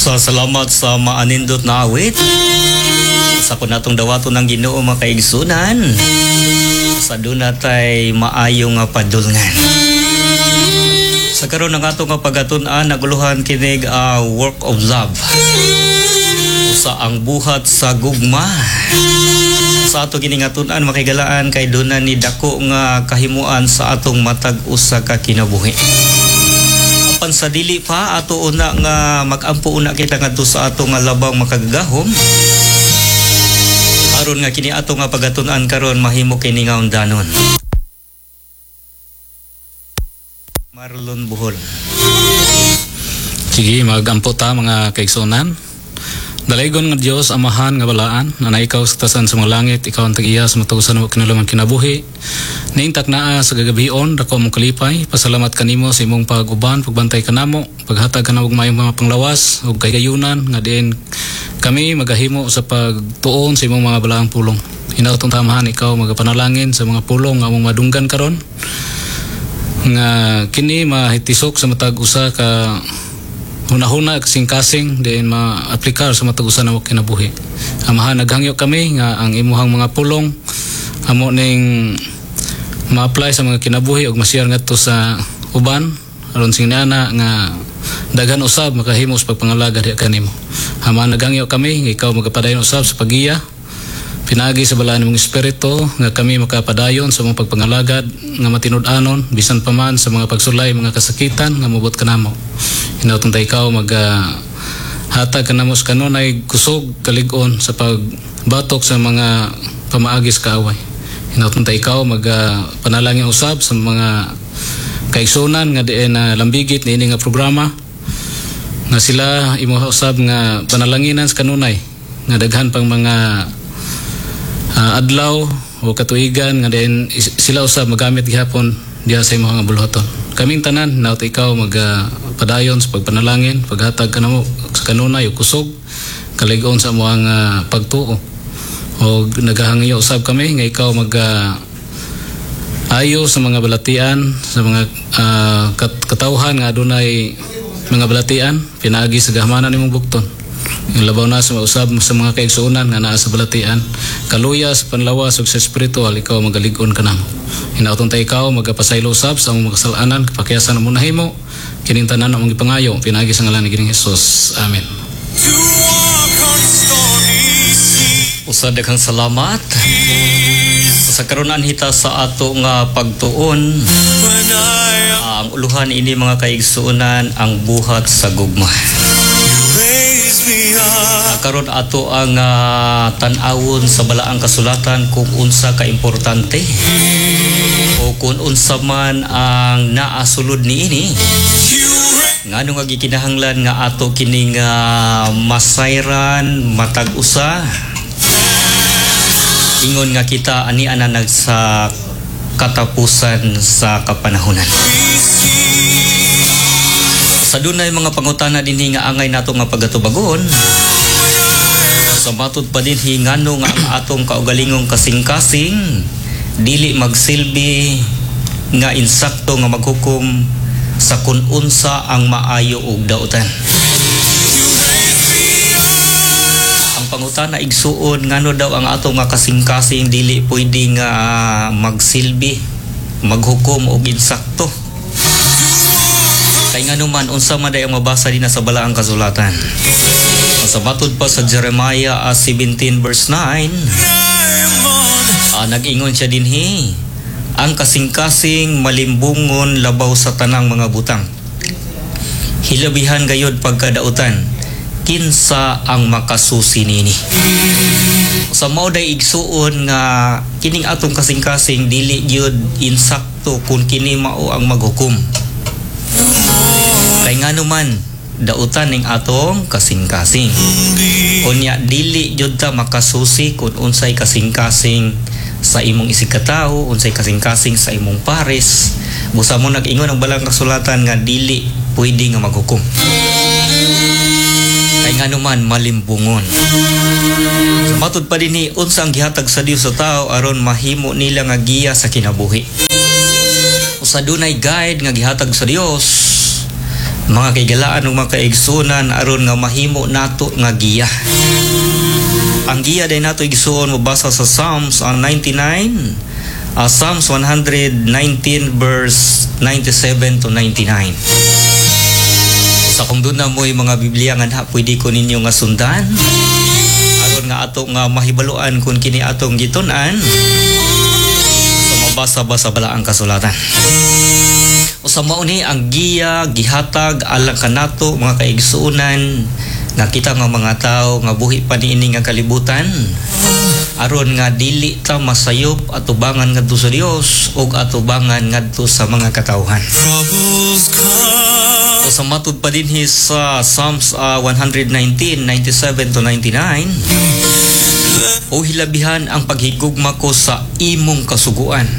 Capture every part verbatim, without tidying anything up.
Sa salamat sa maanindot na awit. Sa kun natong dawaton ng Ginoo, mga kaigsunan. Sa duna tay maayo nga padulngan. Sa karon, ang atong nga pagatun-an naguluhan kinig uh, work of love. Sa ang buhat sa gugma. Sa ato kini nga tun-an, makigalaan, kay duna ni dako nga kahimuan sa atong matag usa ka kinabuhi. Apan sa dili pa, ato una nga magampo una kita ngadto sa ato nga labang makagagahom aron nga kini ato nga pagatun-an karon mahimo kini nga undanon. Marlon Buhol. Sige, magampo ta, mga kaigsunan. Dalaygon nga Dios, Amahan nga balaan, na ikaw sa tasan sa mga langit, ikaw ang tag-iya sa matag usa nga kinaluman kinabuhi. Naintak naa sa gagabion, dako mong kalipay, pasalamat kanimo sa imong pag-uban, pagbantay kanamo, paghatag kanamo og maayong mga panglawas ug kahigayunan nga diin kami magahimo sa pagtuon sa imong mga balaang pulong. Hinautong tamahan ikaw magapanalangin sa mga pulong nga among madunggan karon nga kini mahitisok sa matag usa ka hunahuna, kasing-kasing, diin maaplikar sa matag usa na kinabuhi. Amahan, naghangyo kami nga ang imuhang mga pulong amo ning ma-apply sa mga kinabuhi ug ma-share ngadto sa uban aron sing niana nga daghan usab makahimo sa pagpangalaga diha kanimo. Amahan, naghangyo kami nga ikaw magapadayon usab sa pagiya pinaagi sa balaan mong espiritu nga kami makapadayon sa mga pagpangalagad nga matinud-anon bisan pa man sa mga pagsulay, mga kasakitan nga mobot kanamo. Hinautong ta ikaw mag ah, hatag kanamo sa kanunay kusog, kalig-on sa pagbatok sa mga pamaagi sa kaaway. Hinautong ta ikaw mag ah, panalangin usab sa mga kaigsunan nga diin na lambigit niini nga programa nga sila imo usab nga panalanginan sa kanunay nga daghan pang mga ah, adlaw o katuigan nga diin is- sila usab magamit gihapon diha sa imong nga buluhaton. Kaming tanan, naot ikaw mag ah, padayon sa pagpanalangin, paghatag kanamo sa kanunay o kusog, kalig-on sa among ah, pagtuo. O nagahangyo usab kami nga ikaw mag ah, ayo sa mga balatian, sa mga ah, kat- katawhan nga adunay mga balatian pinaagi sa gahmanan nimong bukton. Yung labaw na sa usab sa mga kaigsuonan nga naa sa balatian, kaluya sa panlawas ug sa spiritual, ikaw magalig-on kanamo. Hinautong ta ikaw magapasaylo usab sa among mga kasalanan, kapakiyasan among nahimo. Kining tanan among gipangayo pinaagi sa ngalan ni Ginoong Hesus. Amen. To walk on stormy seas. Usa, daghang salamat. Sa karon hita sa ato nga pagtuon. When I Ah, ang uluhan ini, mga kaigsuonan, ang buhat sa gugma. You raise me up. Ah, karon ato ang ah, tan-awon sa balaang kasulatan kung unsa ka importante o kung unsa man ang naasulod niini. You raise Ngano nga gikinahanglan nga ato kining ah, masayran matag usa ingon nga kita ani ana nag sa katapusan sa kapanahonan. Sa dunay mga pangutana dinhi nga angay nato nga pagatubagon. Sa matud pa dinhi, ngano nga ang atong kaugalingong kasing-kasing dili magsilbi nga insakto nga maghukom sa kun unsa ang maayo ug dautan? Ang pangutana, igsuon, ngano daw ang atong nga kasing-kasing dili pwede nga magsilbi maghukom og insakto? Kay ngano man, unsa man day ang mabasa din sa balaang kasulatan? Sa matud pa sa Jeremiah ah, seventeen verse nine, ah, nag-ingon siya dinhi, "Ang kasing-kasing malimbungon labaw sa tanang mga butang. Hilabihan gayod pagkadautan. Kinsa ang makasusi nini?" Sa mao day, igsuon, nga kining atong kasing-kasing dili gyud insakto kung kini mao ang maghukom. Kay ngano man, dautan ning atong kasing-kasing. Unya dili jud ta makasusi kung unsay kasing-kasing sa imong isigkatawo, unsay kasing-kasing sa imong pares. Busa mo nag-ingon ang balang kasulatan nga dili pwede nga maghukom. Kay ngano man, malimbungon. Sa matud pa dinhi, unsa ang gihatag sa Dios sa tao aron mahimo nila nga giya sa kinabuhi? Sa dunay guide nga gihatag sa Dios. Mga kaigalaan ug mga kaigsunan, aron nga mahimo nato nga giya. Ang giya day nato, igsuon, mabasa sa Psalms ang ninety-nine, uh, Psalms one hundred nineteen verse ninety-seven to ninety-nine. Sa kung duna mo'y mga Biblia nga na, pwede ko ninyo nga sundan aron nga ato nga mahibaluan kung kini atong gitun-an. So mabasa ba sa balaang kasulatan. O sa mao ni ang giya gihatag alang kanato, mga kaigsuonan, nga kita nga mga tao nga buhi pa niini nga kalibutan, aron nga dili ta masayop atubangan ngadto sa Dios ug atubangan ngadto sa mga katawhan. Troubles come. O sa matud pa dinhi sa Psalms ah, one hundred nineteen, ninety-seven to ninety-nine, "O hilabihan ang paghigugma ko sa imong kasuguan.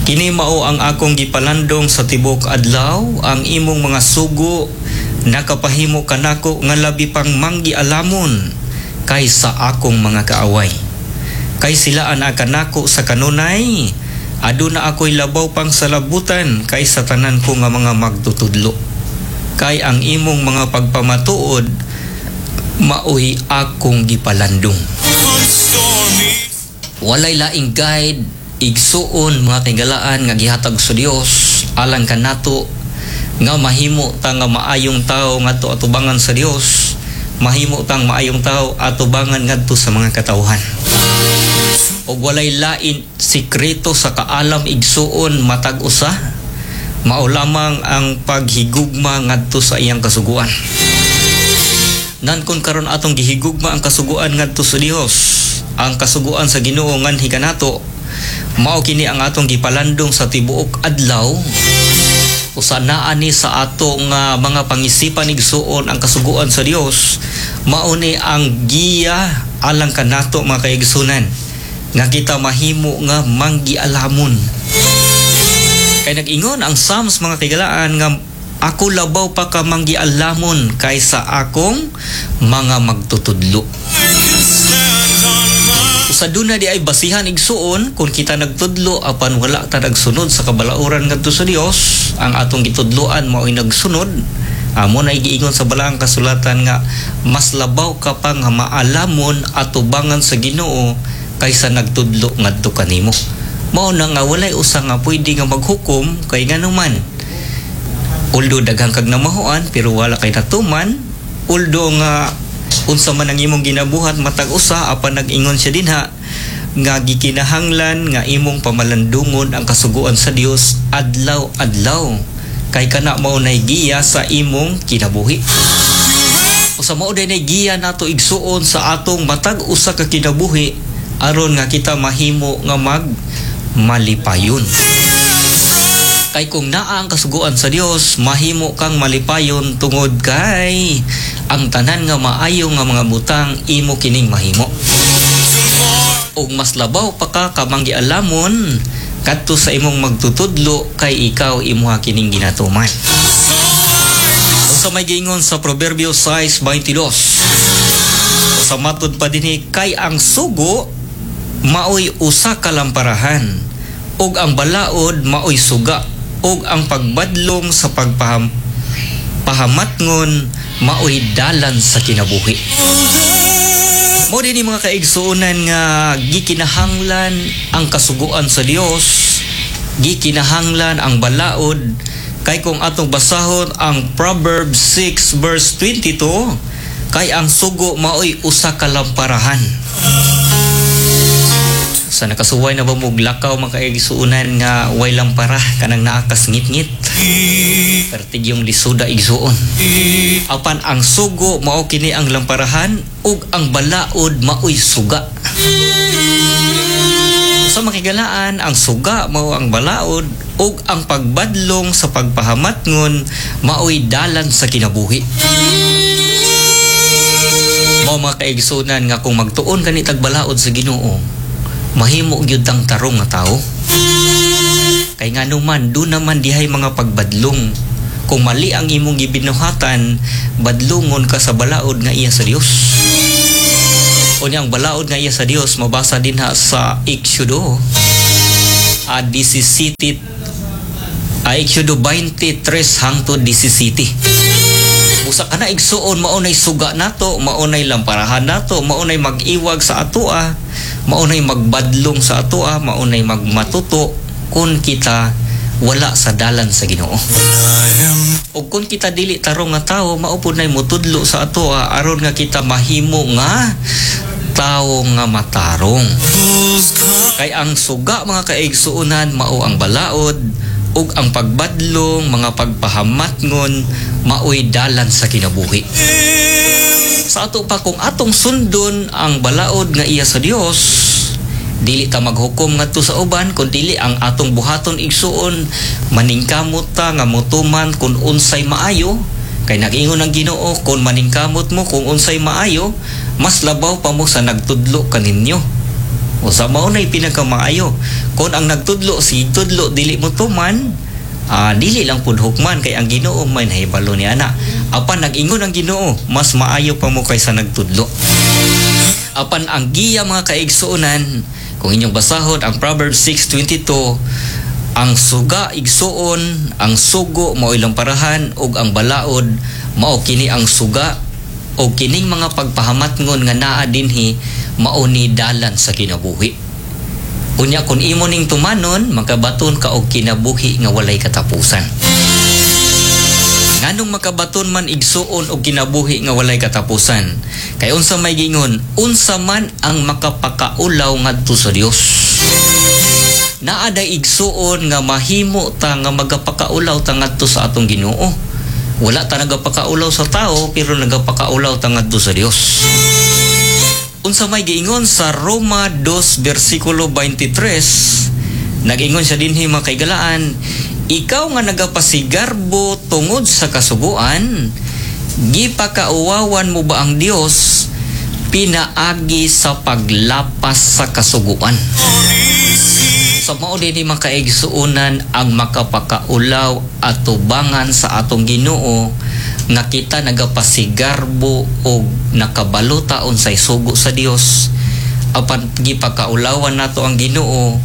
Kini mao ang akong gipalandong sa tibok adlaw. Ang imong mga sugo nakapahimo kanako nga labi pang manggialamon kaysa akong mga kaaway. Kay sila anaa kanako sa kanunay, aduna ako'y labaw pang salabutan kaysa tanan ko nga mga magtutudlo. Kay ang imong mga pagpamatuod maoy akong gipalandong." On stormy Walay laing guide, igsuon, mga kaigalaan, nga gihatag sa Dios alang kanato nga mahimo ta nga maayong tao ngadto atubangan sa Dios, mahimo tang maayong tao atubangan ngadto sa mga katawhan. Ug walay lain sikreto sa kaalam, igsuon, matag usa, mao lamang ang paghigugma ngadto sa iyang kasuguan. Nan kung karon atong gihigugma ang kasuguan ngadto sa Dios, ang kasuguan sa Ginoo nganhi kanato, mao kini ang atong gipalandong sa tibuok adlaw, usa naa ni sa ato nga mga pangisipan, igsuon, ang kasuguan sa Dios, mao ni ang giya alang kanato, mga kaigsunan, nga kita mahimo nga manggialamon. Kay nag-ingon ang Psalms, mga kaigalaan, nga ako labaw pa ka manggialamon kaysa akong mga magtutudlo. I can stand on my Usa duna di ay basihan, igsuon, kung kita nagtudlo apan wala ta nagsunod sa kabalauran ngadto sa Dios, ang atong gitudloan mao'y nagsunod, amo na giingon sa balaang kasulatan nga mas labaw ka pa nga maalamon atubangan sa Ginoo kaysa nagtudlo ngadto kanimo. Mao na nga walay usa nga pwede nga maghukom, kay nganuman, although daghang kag namahuan pero wala kay natuman, although nga unsa man ang imong ginabuhat matag usa, apan nag-ingon siya dinha nga gikinahanglan nga imong pamalandungon ang kasuguan sa Dios adlaw-adlaw, kay kana mao nay giya sa imong kinabuhi. Usa mao day nay giya nato, igsuon, sa atong matag usa ka kinabuhi aron nga kita mahimo nga mag malipayon. Kay kung naa ang kasuguan sa Dios, mahimo kang malipayon tungod kay ang tanan nga maayo nga mga butang imo kining mahimo. Ug mas labaw pa ka kamanggialamon kadto sa imong magtutudlo kay ikaw imuha kining ginatuman. Unsa may giingon sa Proverbio six twenty-two? Sa matud pa dinhi, "Kay ang sugo maoy usa ka lamparahan ug ang balaod maoy suga ug ang pagbadlong sa pagpaham pahamatngon maoy dalan sa kinabuhi." Mao din mga kaigsuonan nga gikinahanglan ang kasuguan sa Dios, gikinahanglan ang balaod, kay kung atong basahon ang Proverbs six verse twenty-two, "Kay ang sugo maoy usa ka lamparahan." Sa nakasuway na ba mo lakaw, mga kaigsuonan, nga way lampara, kanang naa kas ngit-ngit? Pertig yung lisuda, igsuon. Apan ang sugo mao kini ang lamparahan ug ang balaod maoy suga. Sa makigalaan, ang suga mao ang balaod ug ang pagbadlong sa pagpahamatngon maoy dalan sa kinabuhi. Mao, mga kaigsunan, nga kung magtuon kani tag balaod sa Ginoo, mahimo gyud tang tarong nga tao. Kay nga naman, duna man dihay mga pagbadlong. Kung mali ang imong gibinuhatan, badlungon ka sa balaod nga iya sa Dios. Unya ang balaod nga iya sa Dios mabasa dinha sa Exodo a labindisiete, Ay Exodo twenty-three hangtod labing-diyasayte. Usa kana igsuon, mao nay suga nato, mao nay lamparahan nato, mao nay mag-iwag sa atoa, mao nay magbadlong sa atoa, mao nay magmatuto kung kita wala sa dalan sa Ginoo. I am O kung kita dili tarong nga tawo, mao pud nay mutudlo sa atoa aron nga kita mahimo nga tawo nga matarong. Troubles come. Kay ang suga, mga kaigsuonan, mao ang balaod ug ang pagbadlong, mga pagpahamatngon, maoy dalan sa kinabuhi. Sa ato pa, kung atong sundon ang balaod nga iya sa Dios, dili ta maghukom ngadto sa uban, kun dili ang atong buhaton, igsuon, maningkamot ta nga motuman kung unsay maayo, kay nag-ingon ang Ginoo, kung maningkamot mo kung unsay maayo, mas labaw pa mo sa nagtudlo kaninyo. O sa mao na'y pinakamaayo. Kung ang nagtudlo, si tudlo, dili mo tuman, ah, dili lang pud hukman kay ang Ginoo may nahibalo ni ana. Apan nag-ingon ang Ginoo, mas maayo pa mo kaysa nagtudlo. Apan ang giya, mga kaigsuonan, kung inyong basahon ang Proverbs six twenty-two, ang suga, igsuon, ang sugo mao ilang parahan ug ang balaod mao kini ang suga o kining mga pagpahamatngon nga naa dinhi, mao ni dalan sa kinabuhi. Unya kung imo ning tumanon, makabaton ka og kinabuhi nga walay katapusan. Nganong makabaton man, igsuon, og kinabuhi nga walay katapusan? Kay unsa may gingon, unsa man ang makapakaulaw ngadto sa Dios? Naa day, igsuon, nga mahimo ta nga magapakaulaw ta ngadto sa atong Ginoo. Wala ta nagapakaulaw sa tao, pero nagapakaulaw ta ngadto sa Dios. Unsa may giingon sa Roma two versikulo twenty-three, nag-ingon siya dinhi, mga kaigalaan, "Ikaw nga nagapasigarbo tungod sa kasuguan, gipakauwawan mo ba ang Dios pinaagi sa paglapas sa kasuguan?" Sa mao din mga kaigsuonan ang makapakaulaw at tubangan sa atong Ginoo nga kita nagapasigarbo og nakabalo ta unsay sugo sa Dios, apan gipakaulawan nato ang Ginoo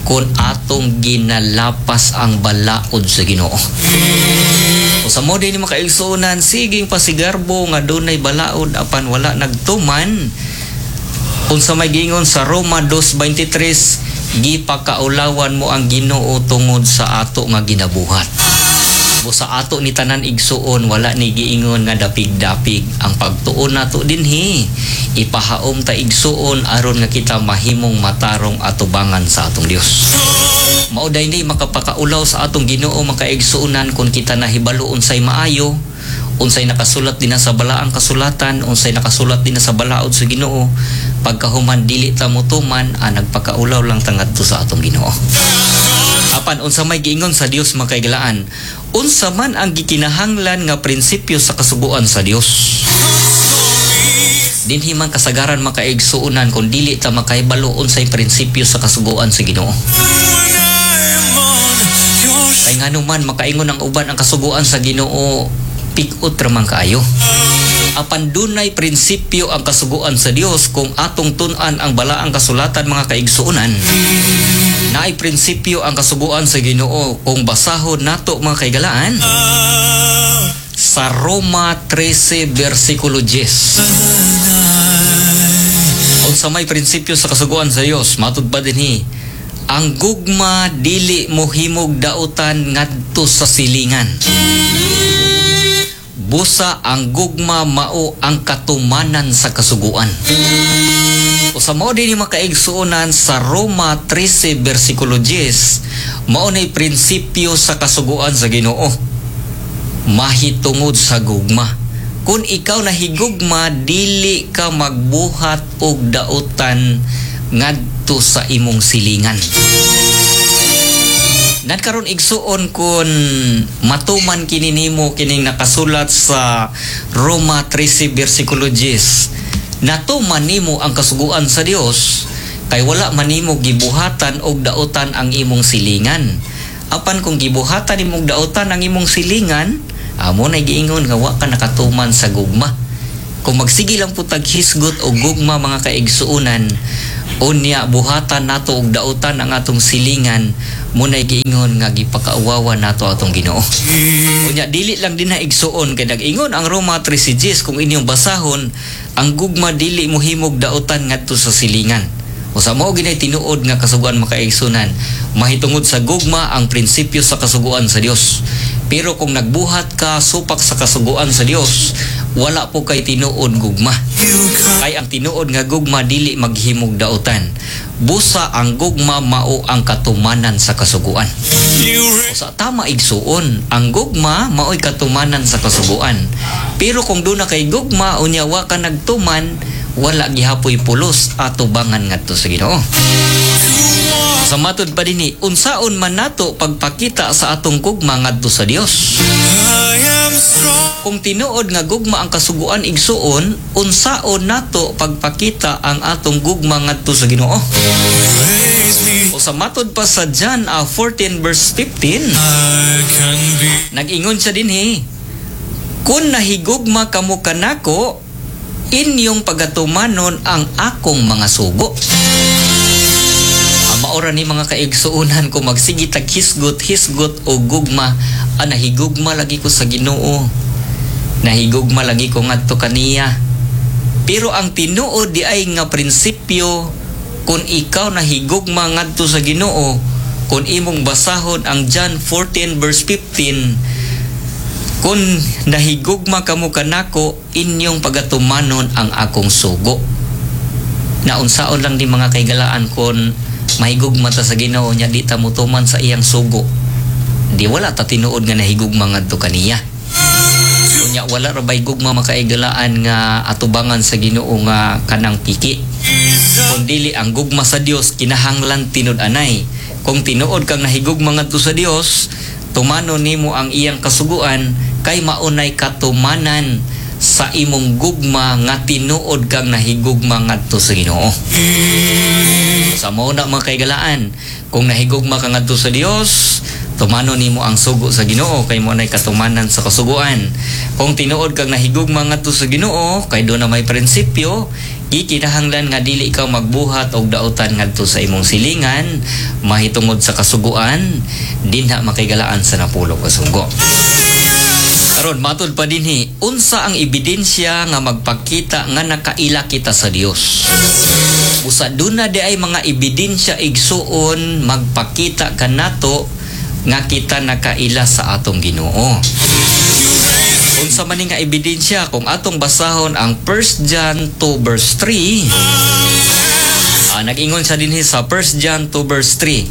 kung atong ginalapas ang balaod sa Ginoo. O sa mao din mga kaigsuonan, siging pasigarbo nga dunay balaod apan wala nagtuman. Unsa may giingon sa Roma two twenty-three, gipakaulawan mo ang Ginoo tungod sa ato nga ginabuhat. O sa ato ni tanan, igsuon, wala ni giingon nga dapig-dapig ang pagtuon nato dinhi. Ipahaom ta, igsuon, aron nga kita mahimong matarong atubangan sa atong Dios. Mao day ni makapakaulaw sa atong Ginoo, mga kaigsuonan, kung kita nahibalo unsay maayo, unsay nakasulat din sa balaang kasulatan, unsay nakasulat din sa balaod sa Ginoo, pagkahuman dili ta motuman, ah, nagpakaulaw lang ta ngadto sa atong Ginoo. Apan unsa may giingon sa Dios, mga kaigalaan? Unsa man ang gikinahanglan nga prinsipyo sa kasuguan sa Dios? Dinhi man kasagaran, mga kaigsuonan, kung dili ta makahibalo unsay prinsipyo sa kasuguan sa Ginoo. When I am on your Kay ngano man makaingon ang uban, ang kasuguan sa Ginoo pigot ra man kaayo. Apan dunay prinsipyo ang kasuguan sa Dios kung atong tun-an ang balaang kasulatan, mga kaigsuonan. Naay prinsipyo ang kasuguan sa Ginoo kung basahon nato, mga kaigalaan, sa Roma thirteen versikulo ten. Unsa may prinsipyo sa kasuguan sa Dios? Matud pa dinhi, ang gugma dili mohimog dautan ngadto sa silingan. Busa ang gugma mao ang katumanan sa kasuguan. O sa mao din mga kaigsuonan, sa Roma thirteen versikulo ten, mao nay prinsipyo sa kasuguan sa Ginoo. Mahitungod sa gugma. Kung ikaw nahigugma, dili ka magbuhat og dautan ngadto sa imong silingan. Nagkaroon, igsuon, kung matuman kini nimo kining nakasulat sa Roma thirteen versikulo ten, natuman nimo ang kasuguan sa Dios kay wala man nimo gibuhatan og dautan ang imong silingan. Apan kung gibuhatan nimong dautan ang imong silingan, amo na giingon nga wa ka nakatuman sa gugma. Kung magsige lang po tag hisgot o gugma, mga kaigsuunan, unya buhatan nato og dautan ang atong silingan, munay giingon nga gipakauwawa nato atong Ginoo. Unya dili lang din na, igsuon, kay nag-ingon ang Roma thirteen kung inyong basahon, ang gugma dili mohimog dautan ngadto sa silingan. Usa mao ginay tinuod nga kasuguan, mga kaigsunan, mahitungod sa gugma ang prinsipyo sa kasuguan sa Dios. Pero kung nagbuhat ka supak sa kasuguan sa Dios, wala po kay tinuod gugma. You come Kay ang tinuod nga gugma dili maghimog dautan. Busa ang gugma mao ang katumanan sa kasuguan. You raise Sa tama, igsuon, ang gugma mao'y katumanan sa kasuguan. Pero kung duna kay gugma unya wa ka nagtuman, wala gihapoy pulos atubangan ngadto sa Ginoo. Sa matod pa dinhi, unsaon man nato pagpakita sa atong gugma ngadto sa Dios? I am strong. Kung tinuod nga gugma ang kasuguan, igsuon, unsaon nato pagpakita ang atong gugma ngadto sa Ginoo? Raise me. O sa matod pa sa John ah, fourteen verse fifteen, I can be nag-ingon siya dinhi, "Kung nahigugma kamo kanako, inyong pagatumanon ang akong mga sugo." Ang maora ni, mga kaigsuunan, kung magsige tag hisgot, hisgot o gugma, ah, nahigugma lagi ko sa Ginoo. Nahigugma lagi ko ngadto kaniya. Pero ang tinuod di ay nga prinsipyo, kung ikaw nahigugma ngadto sa Ginoo, kung imong basahon ang John fourteen verse fifteen, "Kung nahigugma kamo kanako, inyong pagatumanon ang akong sugo." Naunsaon lang di, mga kaigalaan, kung mahigugma ta sa Ginoo nya di ta motuman sa iyang sugo? Di wala ta tinuod nga nahigugma ngadto kaniya. Unya wala ra bay gugma, makaigalaan, nga atubangan sa Ginoo nga kanang piki. Kung dili ang gugma sa Dios kinahanglan tinud-anay. Kung tinuod kang nahigugma ngadto sa Dios, tumano nimo ang iyang kasuguan kay maunay katumanan sa imong gugma nga tinuod kang nahigugma ngadto sa Ginoo. Sa mao na, mga kaigalaan, kung nahigugma ka ngadto sa Dios, tumano nimo ang sugo sa Ginoo kay mo nay katumanan sa kasuguan. Kung tinuod kang nahigugma ngadto sa Ginoo, kay duna may prinsipyo, gikinahanglan nga dili ikaw magbuhat og dautan ngadto sa imong silingan mahitungod sa kasuguan dinha, makaigalaan, sa napulo ka sugo. Karon, matud pa dinhi, unsa ang ebidensya nga magpakita nga nakaila kita sa Dios? Usa duna di ay mga ebidensya, igsuon, magpakita kanato nga kita nakaila sa atong Ginoo. Unsa man ni nga ebidensya? Kung atong basahon ang First John two verse three, ah, nag-ingon siya dinhi sa First John two verse three,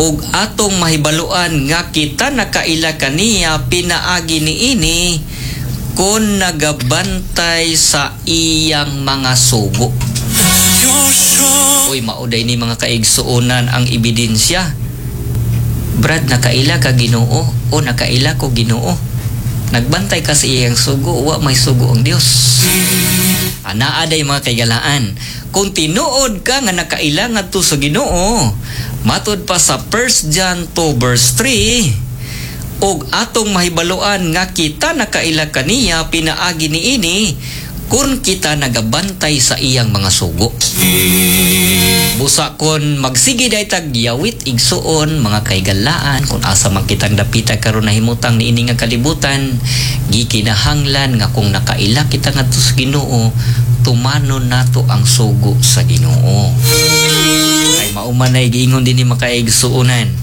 "Ug atong mahibaluan nga kita nakaila kaniya pinaagi niini kung nagabantay sa iyang mga sugo." You're strong. Uy, mao day ni, mga kaigsuonan, ang ebidensya. Brad, nakaila ka Ginoo o nakaila ko Ginoo. Nagbantay ka sa iyang sugo, wa may sugo ang Dios. Anaa day, mga kaigalaan. Kung tinuod ka nga nakaila ngadto sa Ginoo, matod pa sa First John two verse three, "Ug atong mahibaluan nga kita nakaila kaniya pinaagi niini kung kita nagabantay sa iyang mga sugo." Busa kon magsige day tag yawit, igsuon, mga kaigalaan, kung asa man kitang dapita karon nahimutang niini nga kalibutan, gikinahanglan nga kung nakaila kita ngadto sa Ginoo, tumanon nato ang sugo sa Ginoo. Kay mao man ay giingon dinhi, makaigsuonan,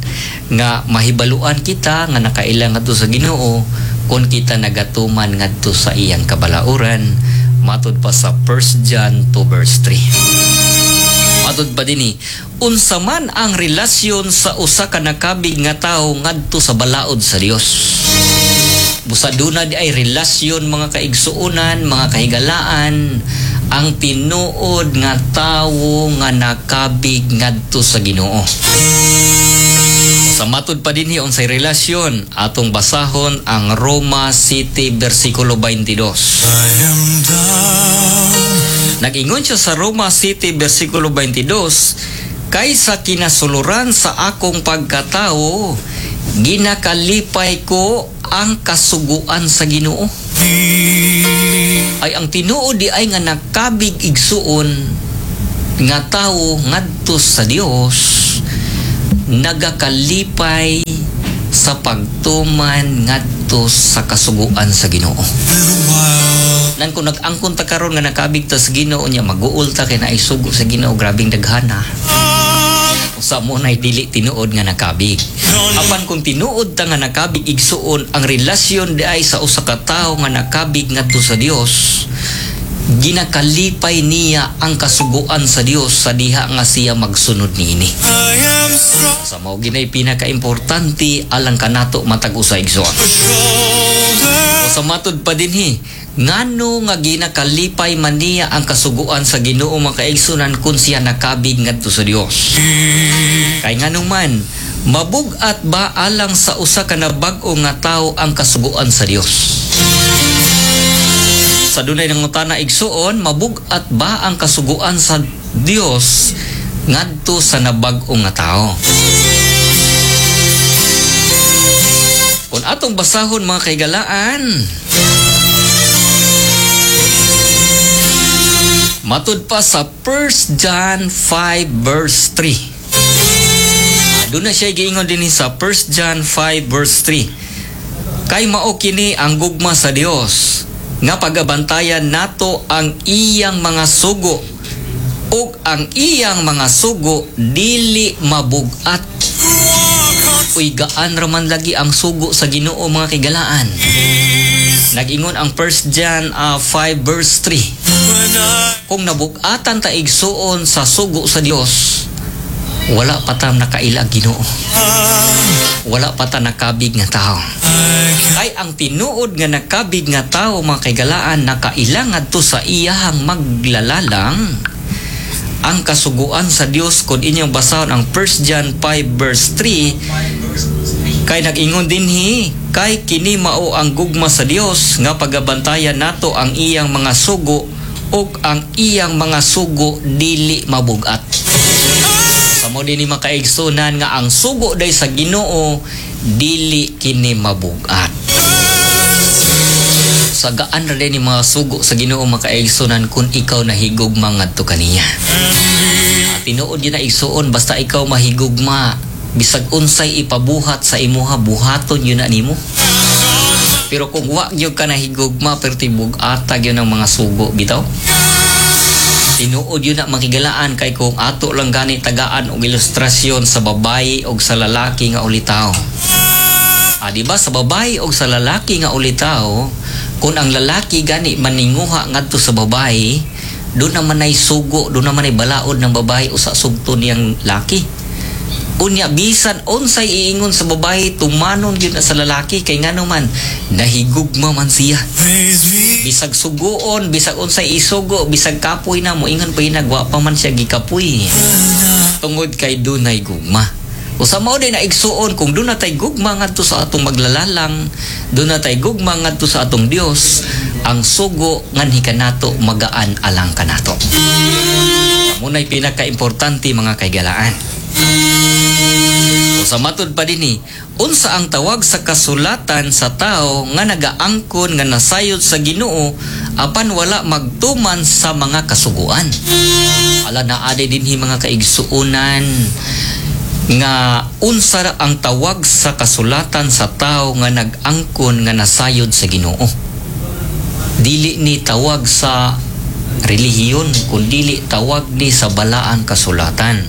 nga mahibaluan kita nga nakaila ngadto sa Ginoo kung kita nagatuman ngadto sa iyang kabalauran, matod pa sa First John two verse three. Matod pa dinhi, unsa man ang relasyon sa usa ka nakabig nga tawo ngadto sa balaod sa Dios? Busa duna di ay relasyon, mga kaigsuonan, mga kahigalaan, ang tinuod nga tawo nga nakabig ngadto sa Ginoo. Sa matod pa dinhi, unsay relasyon? Atong basahon ang Roma seven versikulo twenty-two. I am down. Nag-ingon siya sa Roma seven versikulo twenty-two, "Kay sa kinasuluran sa akong pagkatao, ginakalipay ko ang kasuguan sa Ginoo." Me. Ay ang tinuod di ay nga nakabig, igsuon, nga tawo ngadto sa Dios, nagakalipay sa pagtuman ngadto sa kasuguan sa Ginoo. Little while. Nan kung nag-angkon ta karon nga nakabig ta sa Ginoo niya, maguol ta kay naay sugo sa Ginoo, grabing daghana. Usa mo nay dili tinuod nga nakabig. Apan kung tinuod ta nga nakabig, igsuon, ang relasyon di ay sa usa ka tawo nga nakabig ngadto sa Dios, ginakalipay niya ang kasuguan sa Dios sa diha nga siya magsunod niini. I am strong. Sa mao ginay pinakaimportante alang kanato matag usa, igsoon. Shoulder. O sa matud pa dinhi, ngano nga ginakalipay man niya ang kasuguan sa Ginoo, mga kaigsunan, kung siya nakabig ngadto sa Dios? Kay ngano man, mabugat ba alang sa usa ka nabag-o nga tawo ang kasuguan sa Dios? Sa dunay nangutana, igsuon, mabugat ba ang kasuguan sa Dios ngadto sa nabag-o nga tao? Kung atong basahon, mga kaigalaan, matud pa sa First John five verse three. Doon na siya giingon din sa First John five verse three. Kay mao kini ang gugma sa Dios, nga pagabantayan nato ang iyang mga sugo, ug ang iyang mga sugo dili mabugat. Uy, gaan raman lagi ang sugo sa Ginoo, mga kigalaan. Nag-ingon ang First John uh, five verse three. When I Kung nabugatan ta, igsuon, sa sugo sa Dios, wala pa ta nakaila Ginoo. Wala pa ta nakabig nga tao. I can Kay ang tinuod nga nakabig nga tao, mga kaigalaan, nakaila ngadto sa iyahang maglalalang ang kasuguan sa Dios. Kung inyong basahon ang First John five verse three, kay nag-ingon dinhi, kay kini mao ang gugma sa Dios, nga pagabantayan nato ang iyang mga sugo, ug ang iyang mga sugo dili mabugat. Sa mo dinhi, makaigsunan, nga ang sugo day sa Ginoo dili kini mabugat. Sa gaan ra ni mga sugo sa Ginoo, makaigsunan, kung ikaw nahigugma ngadto kaniya. Ah, tinuod yun na, igsuon, basta ikaw mahigugma, bisag unsay ipabuhat sa imuha, buhaton yun na nimo. Pero kung wa gyud ka nahigugma, pero tibug-ata gyud ang mga sugo bitaw. Tinuod yun na, makigalaan, kay kung ato lang gani tagaan og ilustrasyon sa babae og sa lalaki nga ulitaw. Ah, di ba sa babae og sa lalaki nga ulitaw, kung ang lalaki gani maninguha ngadto sa babae, doon naman ay sugo, doon naman ay balaod ng babae usa sugto niyang laki. Unya bisan unsay iingon sa babae, tumanon gyud na sa lalaki, kay ngano man, nahigugma man siya. Raise me Bisag suguon, bisag unsay isugo, bisag kapoy na, moingon pa wa pa man siya gikapoy. Tungod kay dunay gugma. O sa mao din na, igsuon, kung duna tay gugma ngadto sa atong maglalalang, duna tay gugma ngadto sa atong Dios, ang sugo nganhi kanato magaan alang kanato. Muna'y pinaka-importante, mga kaigalaan. O sa matud pa dinhi, unsa ang tawag sa kasulatan sa tao nga nagaangkon nga nasayod sa Ginoo apan wala magtuman sa mga kasuguan? Ala, naa dinhi, mga kaigsuonan, nga unsa ang tawag sa kasulatan sa tao nga nag-angkon nga nasayod sa Ginoo. Dili ni tawag sa relihiyon, kundi tawag ni sa balaang kasulatan.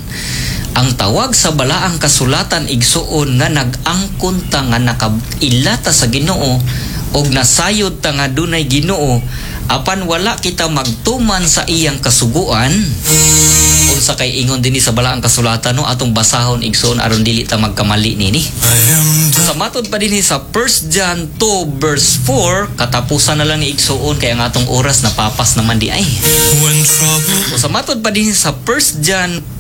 Ang tawag sa balaang kasulatan, igsuon, nga nag-angkon ta nga nakailata sa Ginoo og nasayod ta nga dunay Ginoo apan wala kita magtuman sa iyang kasuguan, unsa kay ingon dinhi sa balaang kasulatan, no? Atong basahon, igsuon, aron dili ta magkamali nini. I am Sa matod pa dinhi sa First John two verse four, katapusan na lang ni, igsuon, kay ang atong oras napapas naman di ay. When trouble So, sa matod pa dinhi sa First John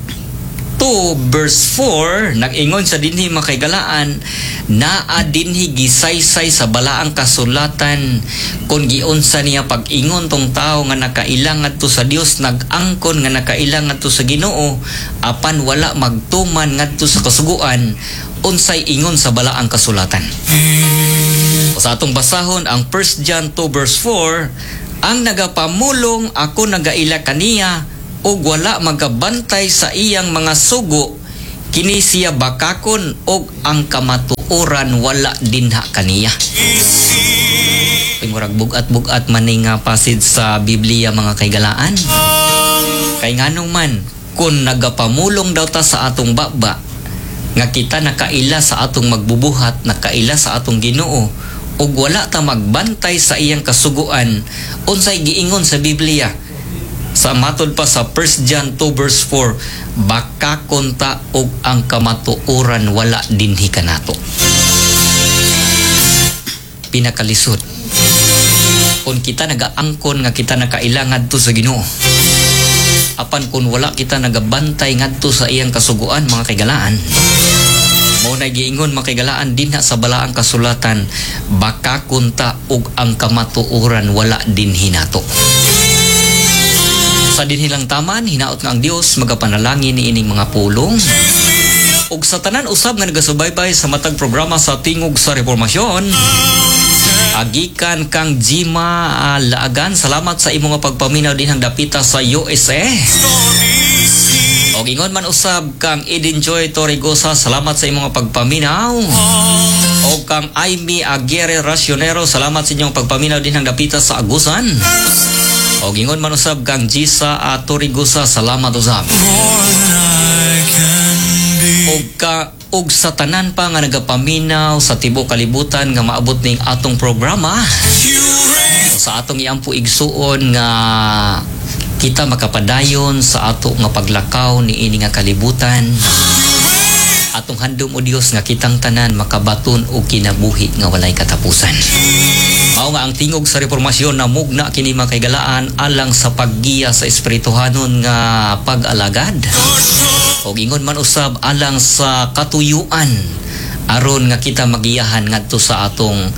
two verse four, nag-ingon sa dinhi, makaigalaan, naa dinhi gisaysay sa balaang kasulatan kung giunsa niya pag-ingon tong tao nga nakailang ngadto sa Dios, nag-angkon nga nakailang ngadto sa Ginoo apan wala magtuman ngadto sa kasuguan, unsay ingon sa balaang kasulatan. O sa atong basahon ang First John two verse four, Ang nagapamulong ako nagaila kaniya ug wala magabantay sa iyang mga sugo, kini siya bakakon og ang kamatuoran wala dinha kaniya. Uy, murag bugat-bugat man ni nga passage sa Biblia, mga kaigalaan. Kay nganong man kung nagapamulong daw ta sa atong baba nga kita nakaila sa atong magbubuhat, nakaila sa atong Ginoo, ug wala ta magbantay sa iyang kasuguan, unsay giingon sa Biblia? Sa matod pa sa First John two verse four, bakakon ta og ang kamatuoran wala dinhi kanato. Pinakalisod kung kita nagaangkon nga kita nakaila ngadto sa Ginoo, apan kung wala kita nagabantay ngadto sa iyang kasuguan, mga kaigalaan, mao na giingon, mga kaigalaan, dinha sa balaang kasulatan, bakakon ta og ang kamatuoran wala dinhi nato. Sa dinhi lang taman, hinaot nga ang Dios magapanalangin ni ining mga pulong ug sa tanan usab nga nagasubaybay sa matag programa sa Tingog sa Reformasyon. Agikan kang Jima ah, Laagan, salamat sa imong nga pagpaminaw dinhang dapita sa U S A. Og ingon man usab kang Eden Joy Torregosa, salamat sa imong nga pagpaminaw. Og kang Aimee Aguirre Racionero, salamat sa inyong pagpaminaw dinhang dapita sa Agusan. Og ingon man usab kang Gisa ah, Torregosa, salamat usab. More than I can be. Og ka og sa tanan pa nga nagapaminaw sa tibuok kalibutan nga maabot ning atong programa, You raise sa atong iampo, igsuon, nga kita makapadayon sa ato nga paglakaw ni ini nga kalibutan. Atong handom o Dios nga kitang tanan makabaton og kinabuhi nga walay katapusan. Mao nga ang Tingog sa Reformasyon namugna kini, mga kaigalaan, alang sa paggiya sa espirituhanon nga pag-alagad og ingon man usab alang sa katuyuan aron nga kita magiyahan ngadto sa atong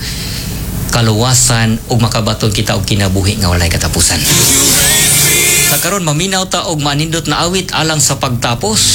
kaluwasan ug makabaton kita og kinabuhi nga walay katapusan. Sa karon, maminaw ta og manindot na awit alang sa pagtapos.